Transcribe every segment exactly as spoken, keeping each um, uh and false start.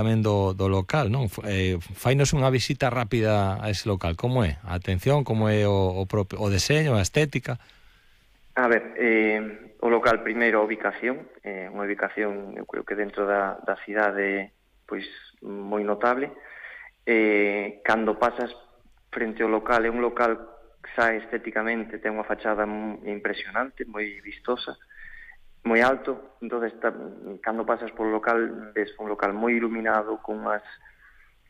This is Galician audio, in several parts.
tamén do, do local, non? Eh, fainos unha visita rápida a ese local. Como é? A atención, como é o, o, propio, o deseño, a estética? A ver, eh, o local primeiro, a ubicación, eh, unha ubicación, eu creo que dentro da, da cidade, pois, moi notable. Eh, cando pasas frente ao local, é un local que xa estéticamente ten unha fachada impresionante, moi vistosa, moi alto. Entón, está, cando pasas polo local, ves un local moi iluminado, con unhas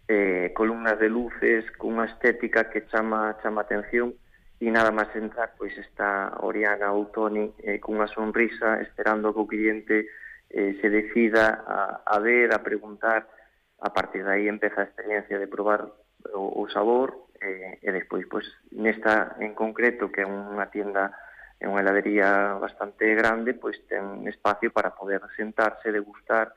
eh, columnas de luces, con unha estética que chama, chama atención, e nada máis entrar, pois está Oriana ou Toni eh, con unha sonrisa, esperando que o cliente eh, se decida a, a ver, a preguntar. A partir de aí empeza a experiencia de probar o, o sabor, eh, e despois, pois, nesta en concreto, que é unha tienda, é unha heladería bastante grande, pois ten espacio para poder sentarse, degustar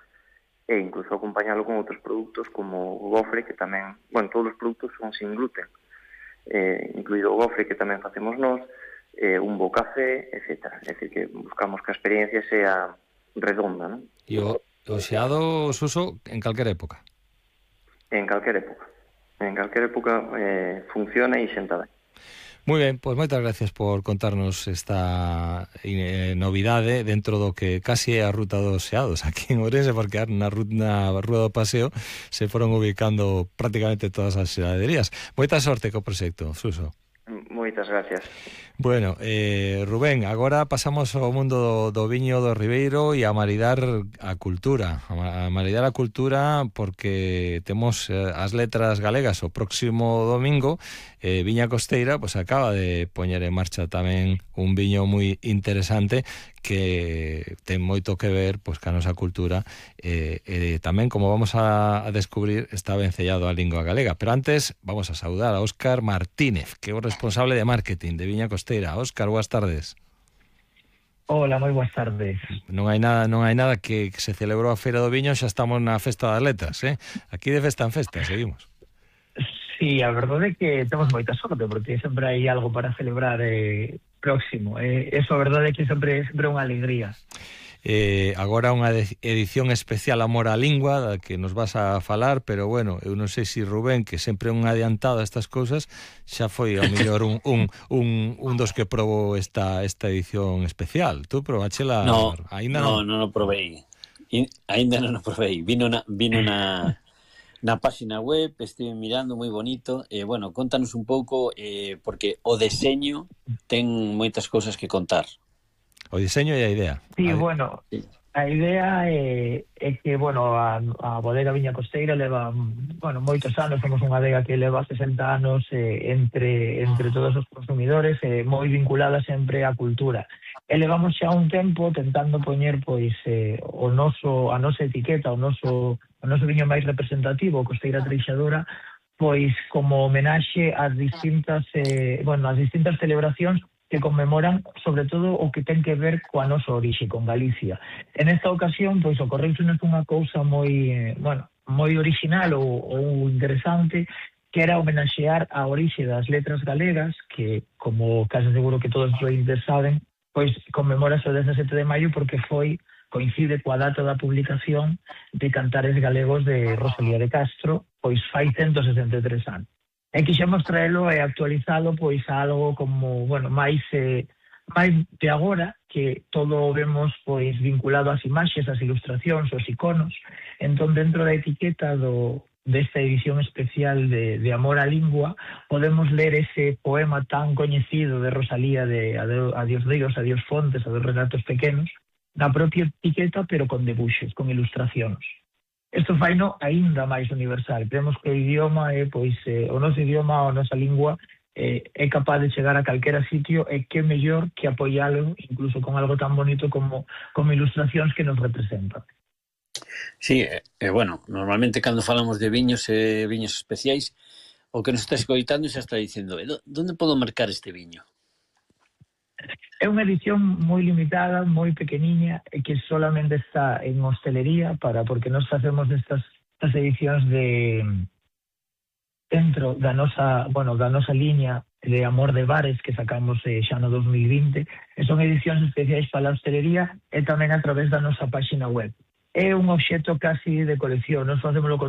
e incluso acompañalo con outros produtos como o gofre, que tamén, bueno, todos os produtos son sin gluten, eh, incluído o gofre que tamén facemos nós, eh, un bo café, etcétera. É dicir, que buscamos que a experiencia sea redonda, non? E o, o xeado, Suso, en calquera época? En calquera época. En calquera época eh, funciona e xenta ben. Moi ben, pois moitas gracias por contarnos esta eh, novidade dentro do que casi é a ruta dos xeados aquí en Ourense, porque na, na Rúa do Paseo se foron ubicando prácticamente todas as xeladerías. Moita sorte co proxecto, Suso. Moitas gracias. Bueno, eh, Rubén, agora pasamos ao mundo do, do viño do Ribeiro e a maridar a cultura. A, a maridar a cultura porque temos eh, as letras galegas o próximo domingo. eh, Viña Costeira pues acaba de poñer en marcha tamén un viño moi interesante que ten moito que ver pues, ca nosa cultura, eh, e tamén, como vamos a, a descubrir, está vencellado a lingua galega. Pero antes vamos a saudar a Óscar Martínez, que é o responsable de marketing de Viña Costeira. Óscar, boas tardes. Hola, moi boas tardes. Non hai nada, non hai nada que, que se celebrou a Feira do Viño, xa estamos na Festa das Letras, eh? Aquí de festa en festa, seguimos. Sí, a verdade é que temos moita sorte, porque sempre hai algo para celebrar eh, próximo. Eh, eso, a verdade é que sempre é sempre unha alegría. Eh, agora unha edición especial Amor á Lingua, da que nos vas a falar, pero bueno, eu non sei se si Rubén, que sempre é un adiantado a estas cousas, xa foi ao mellor un, un, un, un dos que probou esta, esta edición especial. Tú probachela? No, ainda no, non? non o probei. In, ainda non o probei. Vino na, vino na, na página web, estive mirando, moi bonito. E, eh, bueno, contanos un pouco, eh, porque o deseño ten moitas cousas que contar. O diseño e a idea. Sí, a bueno, a idea é, é que, bueno, a, a bodega Viña Costeira leva, bueno, moitos anos, somos unha adega que leva sesenta anos eh, entre, entre todos os consumidores, eh, moi vinculada sempre á cultura. E levamos xa un tempo tentando poñer, pois, eh, o noso, a nosa etiqueta, o noso, o noso viño máis representativo, Costeira Treixadora, pois, como homenaxe ás distintas, eh, bueno, ás distintas celebracións que conmemoran, sobre todo, o que ten que ver coa nosa orixe, con Galicia. En esta ocasión, pois, ocorreusenos unha cousa moi, eh, bueno, moi original ou, ou interesante, que era homenaxear a orixe das letras galegas, que, como case seguro que todos os ointes saben, pois conmemorase o dezasete de maio porque foi, coincide coa data da publicación de Cantares Galegos de Rosalía de Castro, pois fai ciento sesenta e tres anos. E quixemos traelo e actualizalo pois a algo como, bueno, máis eh, máis de agora, que todo o vemos pois vinculado ás imaxes, ás ilustracións, aos iconos. Entón, dentro da etiqueta do desta edición especial de, de Amor á Lingua, podemos ler ese poema tan coñecido de Rosalía de Adiós ríos, adiós fontes, adiós relatos pequenos, na propia etiqueta, pero con debuxos, con ilustracións. Isto faino aínda máis universal. Creemos que o idioma é, pois, eh, o noso idioma, a nosa lingua, eh, é capaz de chegar a calquera sitio, e que mellor que apoialo, incluso con algo tan bonito como, como ilustracións que nos representan. Sí, e eh, bueno, normalmente cando falamos de viños e eh, viños especiais, o que nos está escoitando xa está dicendo, eh, onde podo marcar este viño? É unha edición moi limitada, moi pequeniña, e que solamente está en hostelería, para porque nós facemos estas, estas edicións de dentro da nosa, bueno, da nosa liña de Amor de Bares que sacamos eh, xa no dos mil vinte, e son edicións especiais para a hostelería e tamén a través da nosa página web. É un obxecto casi de colección, nós facemos